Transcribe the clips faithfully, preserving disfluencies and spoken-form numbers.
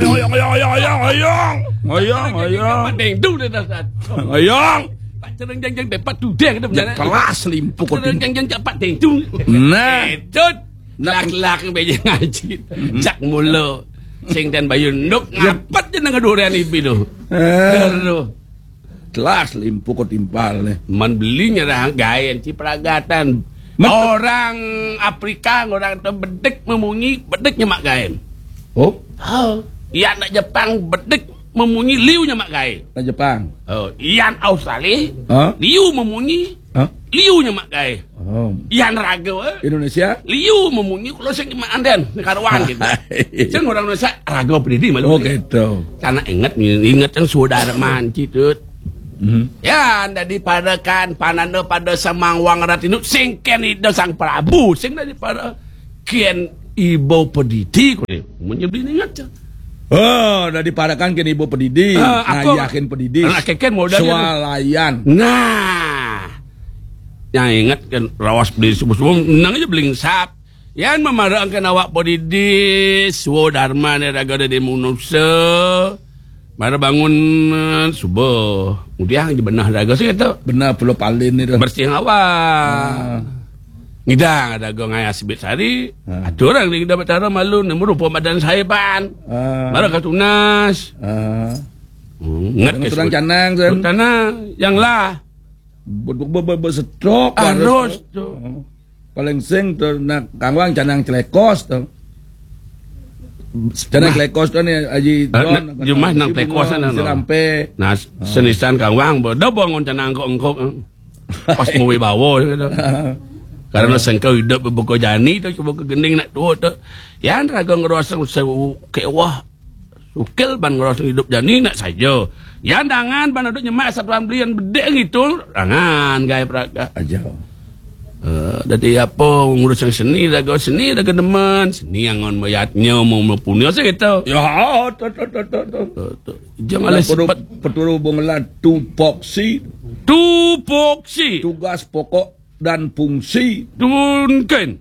Ngoyong, ngoyong, ngoyong, ngoyong. Ngoyong, ngoyong. Pak Dengdung dia dah satu. Ngoyong. Pak Cereng Jeng Jeng Depak Tudeng itu. Ya, benar. Kelas limpu kau. Cereng Jeng Jeng Depak Dengdung. Nah. Itu. Nah. Lak-lak beja ngaji. Hmm. Jak mula. Sing dan bayu nuk. Ya. Ngapet je nang durian ibi tu. Eh. Aduh. Telas limpu kau timpal ni. Man beli nyerah gaen ci peragatan. Orang Afrika, orang tu bedik memunyi, bedik nyemak gaen. Oh? Ha. Iya nak Jepang bedik memunyi liu nyemak gaen. Nak Jepang. Oh, iya Australia. Ha? Liu memunyi. Ha? Liu nyemak gaen. Oh. Iya raga, eh? Indonesia? Liu memunyi kalau sing nyemak anden, karuan gitu. Sing orang Indonesia raga pedidi malu. Oh, gitu. Karena ingat, ingat yang saudara manci tu. Mhm. Ya, daripada kan pananda pada semangwang ratinu sing ken ida sang Prabu, sing daripada ken ibu pedidi ko ni. Munyi beli ingat je. Oh, daripada kan ken ibu pedidi, ah, aku ngayahin pedidi. Anak keken modal swalayan. Nah. Yang ingat kan rawas beli subuh-subuh menang aja belingsap. Yan memarangkan awak podidi, suwo dharma ne raga dadi manusa. Mara bangun, eh, subuh. Ngudiang je benah raga sing tu. Benah pulo palin ni tu. Bersih awak. Ah. Ngidang raga ngayas bit sari. Ah. Atur orang di ngidang betara malu nemu rupa badan saya pan. Ah. Mara katunas. Ah. Hmm, ngat ke turang sebut. Canang, sen. Tanah yang lah. Be-, be-, be-, be-, setrok, arus tu. Paling sing tu nak kangwang canang celekos tu. Canang celekos tu ni Haji Don, nak jumah nang celekos sana, no. Sirampe. Nah, senisan kangwang, bo, dah bangun canang kok engkok, eh. Pas mau bawa gitu. Karena sengkau hidup buka jani tu, cuba ke gending nak tua tu. Yan raga ngerasa usah kewah. Sukil ban ngerasa hidup jani nak saja. Yan dangan ban duduk nyemak satuan belian bedek gitu. Dangan gaya peraga. Aja. Eh, dadi apa ngurus yang seni, raga seni, raga demen. Seni yang ngon mayatnya mau mepunya sih gitu. Ya, tu, tu, tu, tu, tu. Tu, tu. Jangan ada alih perlu, sepat. Peturu bungelan tupoksi. Tupoksi. Tugas pokok dan fungsi. Tunken.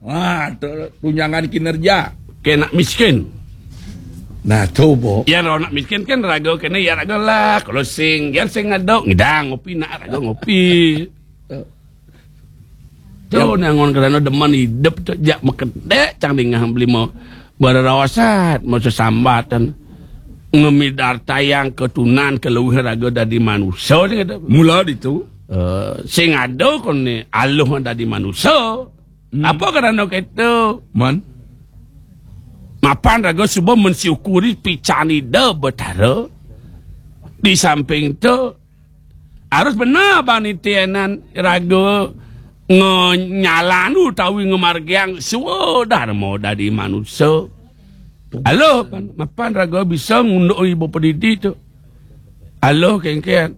Wah, tu tunjangan kinerja. Kena miskin. Nah, tu, Bo. Ya, orang nak miskin kan raga kena, ya, raga lah. Kalau sing, ya, sing ngadok, ngidang, ngopi, nak raga ngopi. Tu, ya. Nangon kerana demen hidup tu, jak mekedek, cang dingah beli mau berarawasat, mau sesambatan. Ngemidar tayang ketunan keluar raga dari manusia, ni kata. Mula ditu. Eh, sing ada kon ni, aluh dari manusia. Hmm. Apa kerana kata? Man? Mapan raga suba mensyukuri pican Ida Betara. Di samping tu, harus benar banitianan raga ngenyalan utawi ngemargiang swadharma dadi manusa. Aloh, pan, mapan raga bisa ngunduk ibu pedidi tu. Aloh, kengken.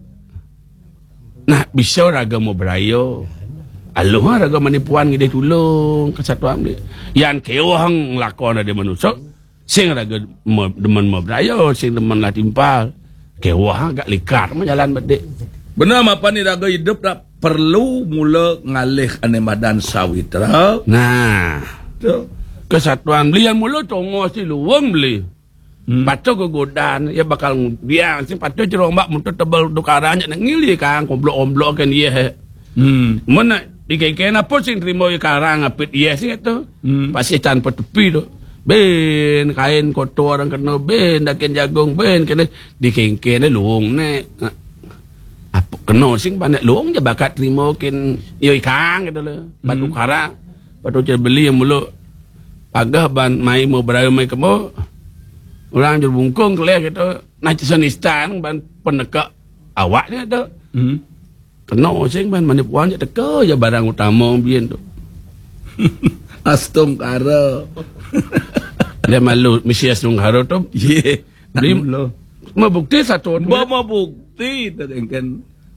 Nah, bisa raga mau beraya. Aloh, raga manipuan ngidih tulung, kesatuan ni. Yan kewah ngelakon ada manusa, sing raga me-, demen mau beraya, sing demen lah timpal. Kewah agak likat mah jalan bedik. Benar, mapan ni raga hidup tak perlu mula ngalih ane madan sawitra. Nah. Tu. Kesatuan beli yang mula tongos di luang beli. Hmm. Patuh kegodan, ya bakal ngudiang. Sing patuh jerombak muntut tebal dukaran, jak nak ngili kang, komblok-omblok kan, iya, he. Hmm. Mun nak dikengken apa sing terima iya karang apit iya sing tu. Hmm. Pasti tanpa tepi tu. Ben kain kotor orang kena, ben dakin jagung, ben kena dikengken luung ne. Apa kena sing banyak luung je bakat terima kin, iya ikang gitu le. Batu, hmm, karang. Patu je beli yang mulu. Pagah ban mai mau beraya mai kemo. Orang je bungkung keleh gitu. Nah, cesen istan ban peneka awak ni tu. Hmm. Kena sing ban mani puan je teka je barang utama bien tu. Astungkara. Dia malu misi astungkara tu. Ye. Beli, tak mula. Mau bukti satu tu. Ba mau bukti tu kan.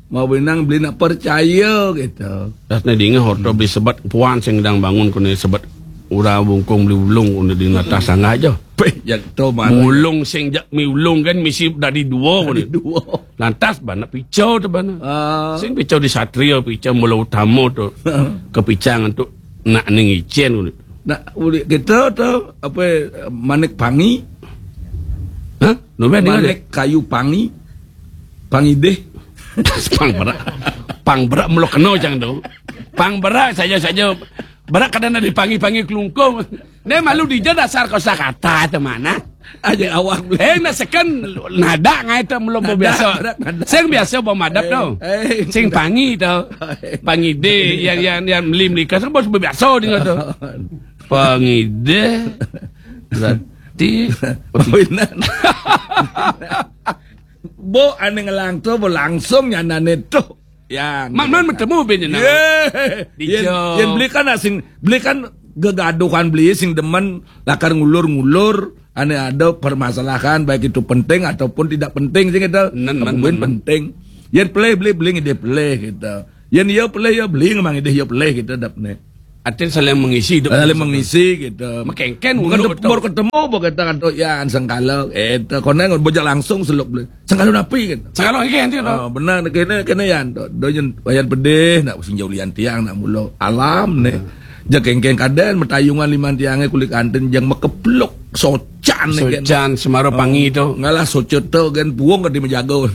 Mau benang beli nak percaya gitu. Das ne dingin hoto beli sebat puan sing dang bangun kone sebat ura bungkung beli ulung kone di atas sanggah aja. Peh, jak tu mana? Ulung sing jak mi ulung kan misi dari dua kone. Dari dua. Lantas bana picau tu bana. Ah. Sing picau di satria, picau mula utama tu. Kepicang tu nak ning icen kone. Nak ulik kita tu apa, manik pangi? Nuben, Malik kayu pangi, pangidih. Pang berak. Pang berak melo kena cang tu. Pang berak saja-saja. Berak kadang ada pangi-pangi kelungkung. Dia malu dija dasar kosakata tu mana? Aja awak. Eh, nak seken nada ngai tu belum biasa. Sing biasa bawa madap tu. Sing pangi tu. Pangidih yang yang yang meli melika sing bos biasa dia tu. Pangidih. Berarti Bo ane ngelang tu, bo langsung nyanane tu. Ya. Man, man bertemu bin jenang. Ye. Yen, yen beli kan asing, beli kan gegaduhan beli sing demen lakar ngulur-ngulur, ane ada permasalahan baik itu penting ataupun tidak penting sing kita. Nen, men, men, penting. Yen pelih beli beli ngide pelih kita. Yen iya pelih iya beli ngemang ngide iya pelih kita dapne. Artinya saling mengisi hidup. Saling mengisi gitu. Makengken bukan ketemu, baru ketemu bo kita kan tu ya sengkala itu kono bojak langsung seluk beli. Sengkala napi kan? Sengkala iki nanti tu. Ah, benar kena kena yan tu. Do yen wayan pedih nak sing jauh lian tiang nak mulo alam ni. Ja kengkeng kaden metayungan liman tiange kulit kanten jang mekepluk socan ni kan. Socan semaro pangi tu. Ngalah soco tu kan buang ke di mejago.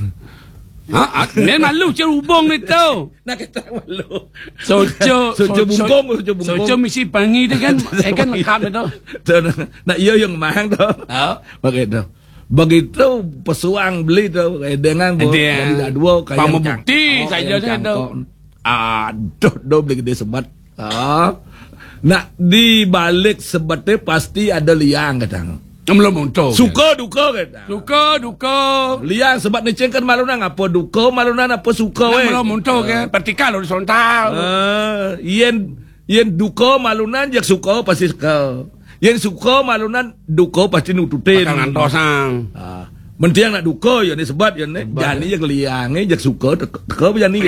Ha, ah, ni malu cerubung ni tu. Nak kata malu. Soco, soco bungkung, soco bungkung. Soco misi pangi tu kan, eh kan lekap tu. Tu nak, nak iya yang mang tu. Ha? Pakai tu. Begitu pesuang beli tu, eh, dengan bo, jadi dah dua kaya pama bukti saja tu. Aduh, do beli gede sebat. Ha. Nak di balik sebete pasti ada liang kadang. Belum untung. Suka duka kadang. Suka duka. Liang sebab ni cengkan malunan apa duka malunan apa suka eh. Belum untung kan. Pertikal horizontal. Ah, yen yen duka malunan jak suka pasti suka. Yen suka malunan duka pasti nututin. Bakal ngantosang. Ah. Mentiang nak duka ya ni sebab ya ni. Jani jak liang eh jak suka teka, teka jani.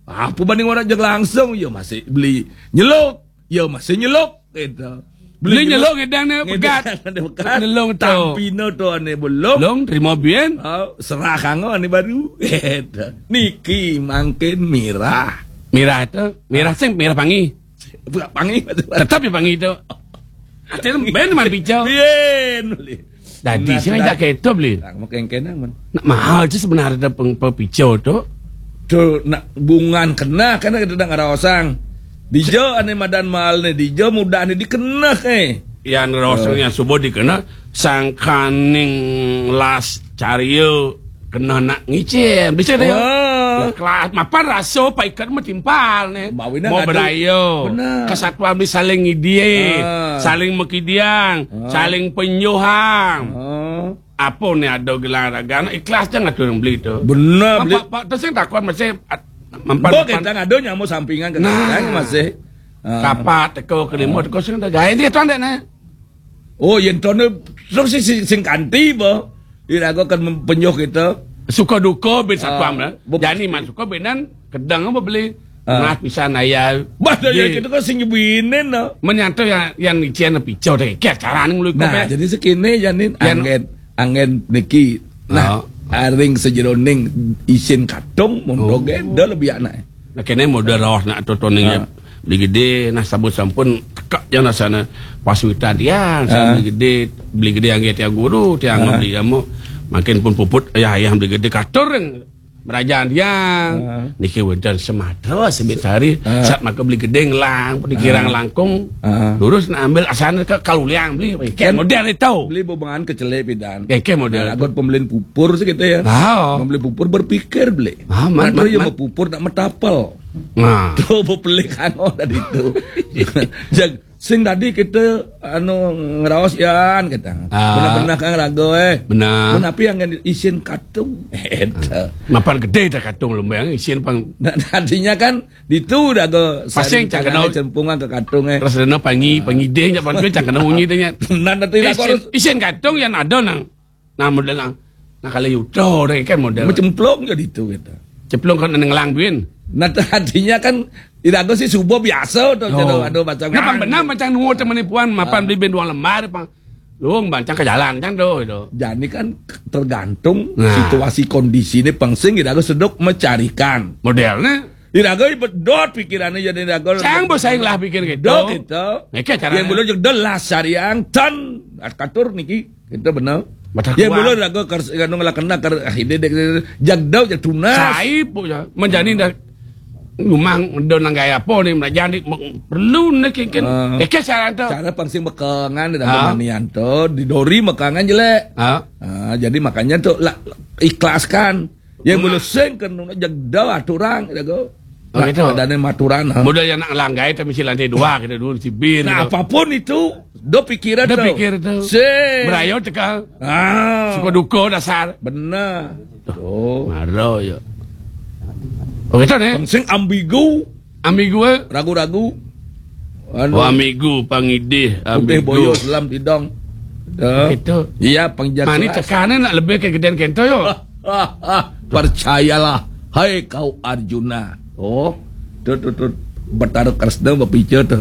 Apa banding orang jak langsung ya masih beli nyeluk. Ya masih nyeluk gitu. Beli nyeluk ngedang ni pegat. Nyeluk tu. Tapi no tu ane belum. Long terima bien. Oh, serah kango ane baru. Gitu. Niki mangkin mirah. Mirah tu, mirah sing mirah pangi. Bukan pangi. Tetap ya pangi tu. Atin ben man pica. Bien beli. Dadi sing ajak keto beli. Nak mau kengkena man. Nak mahal tu sebenarnya peng pepica tu. Tu nak bungan kena kan kita nak ngaraosang. Dija ane madan mahal ni, dija mudah ni dikena eh. Yang raosang yang subuh dikena sangkaning las caria kena nak ngicil. Bisa dia. Wah. Ya, kelas mapan rasa paikat metimpal ni. Mau berayo. Kesatuan beli saling ngidie, saling mekidiang, saling penyuhang. Apa ni ada gelang raga nak ikhlas jangan tu yang beli tu. Benar beli. Pak, pak tu sing takut masih mampan. Bo kita ngado nyamuk sampingan ke nah. Masih. Kapat teko kelima teko sing dah gaya dia tuan dek nah. Oh, yen tone terus si sing kanti ba. Iraga kan penyuh kita. Suka duka bin satpam lah. Jani man suka binan kedang apa beli. Nah pisan ayah. Bah dah ya kita kan sing binen lah. Menyatu yang yang ician pico deh. Kaya cara ni ngeluh. Nah, jadi sekini janin angin angin niki. Nah, aring sejeroning isin katung mun doge dah lebih anak. Nah, kene model roh nak totoning ya. Beli gede nah sabun sampun tekak yang rasana pas witan tiang beli gede beli gede yang tiang guru tiang beli kamu makin pun puput ayah ayah beli gede katur yang merajaan tiang niki wenten sematra sebit hari saat maka beli gede ngelang dikirang langkung lurus nak ambil asana ke kaluliang beli kan model itu beli bebengan kecele pidan kan model lagu pembelian pupur sih kita ya pembeli pupur berpikir beli mana yang mau pupur nak metapel Nah. Tu bepelik anu tadi tu. Jag sing tadi kita anu ngeraos yan kata. Ah. Benar-benar kan raga eh. Benar. Menapi yang isin katung. Eta. Mapan gede dah katung lembang isin pang. Nah, tadinya kan ditu dah ke pasing cang kenal cempungan ke katung eh. Terus dana pangi pangideh nya pan cang kenal munyi tanya. Nan tadi isin, isin katung yang ada nang Nah, model nang. Nah, kalau yuto deh kan model. Macemplung jadi itu gitu. Cemplung kan nenglang bin. Nah, artinya kan tidak ada sih subuh biasa tuh oh. Ada macam. Nah, pang benar macam nunggu teman puan mapan beli bin dua lembar pang. Luang bancang ke jalan kan tuh itu. Jadi kan tergantung nah. Situasi kondisi ini pang sing tidak ada sedok mencarikan. Modelnya Iraga bedot pikirannya jadi iraga. Cang bersaing lah pikir gitu. Dot itu. Neke cara. Yang belum juga delas sariang tan katur niki. Itu benar. Batal. Ya, kuat. Mula raga kar anu ngelakena kar ah, ide dek jagdau ja tunas. Sai po ya. Menjani dah ngumang do nanggai apa ni, melajan ni, perlu ni kin, kin. Ah. Eke saran tu. Cara pang sing mekengan dah. Ha? Pemanian tu, di dori mekengan jelek. Ha? Ah, jadi makanya tu lah, ikhlaskan. Ya, mula sing kena jagdau aturan, dah go. Oh, gitu. Adanya maturan, ha. Modal yang nak langgai, tapi si lantai dua kita dulu, si bir. Nah, gitu. Apapun itu, do pikiran. Do tu. Pikir tu. Sing. Berayo teka. Ah. Suka duka dasar. Benar. Oh. Maro ya. Oh, gitu ni. Sing ambigu. Ambigu, eh? Ragu-ragu. Anu. Oh, ambigu, pangidih, putih ambigu. Boyo, selam tidong. Ya. Gitu. Iya, pangjak. Mani kelas. Tekanan nak lebih ke gedean kento yo. Percayalah, hai kau Arjuna. Oh, tu, tu, tu. Betara Kresna berpikir tu.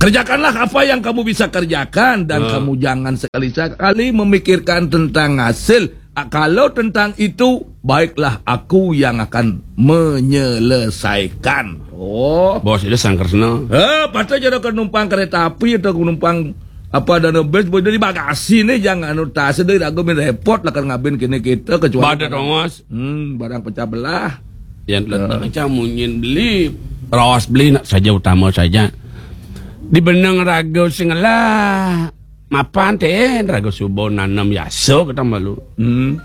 Kerjakanlah apa yang kamu bisa kerjakan dan kamu jangan sekali-sekali memikirkan tentang hasil. Ah, kalau tentang itu, baiklah aku yang akan menyelesaikan. Oh. Bos, itu Sang Kresna. Eh, patut je dah ke numpang kereta api atau ke numpang apa dana bus, boleh dari bagasi ni, jangan anu tas, dari ragu min repot lah kan ngabin kini kita, kecuali barang, tongos. Hmm, barang pecah belah. Yang letak macam munyin beli, rawas beli nak saja utama saja. Di benang raga sing ngelah. Mapan ten raga suba nanem yasa kita malu. Hmm.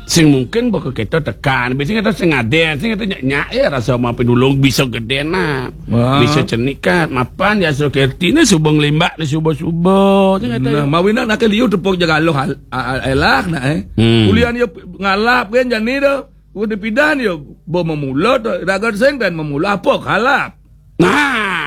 Sing mungkin baka kita tekan, biasanya kita sing aden, sing kita nyak-nyak ya rasa mampir dulung bisa gede nak. Wah. Bisa cenikat, mapan yasa kerti ni suba ngelimbak ni suba-suba. Sing kata. Nah, ya. Mawina nak liu tepuk jaga loh hal, a-, a-, elak nak, eh. Hmm. Kuliah ni ngalap kan jani dah. Udah pindah ni, bo memula tu, raga sing dan memula apa kalap. Nah.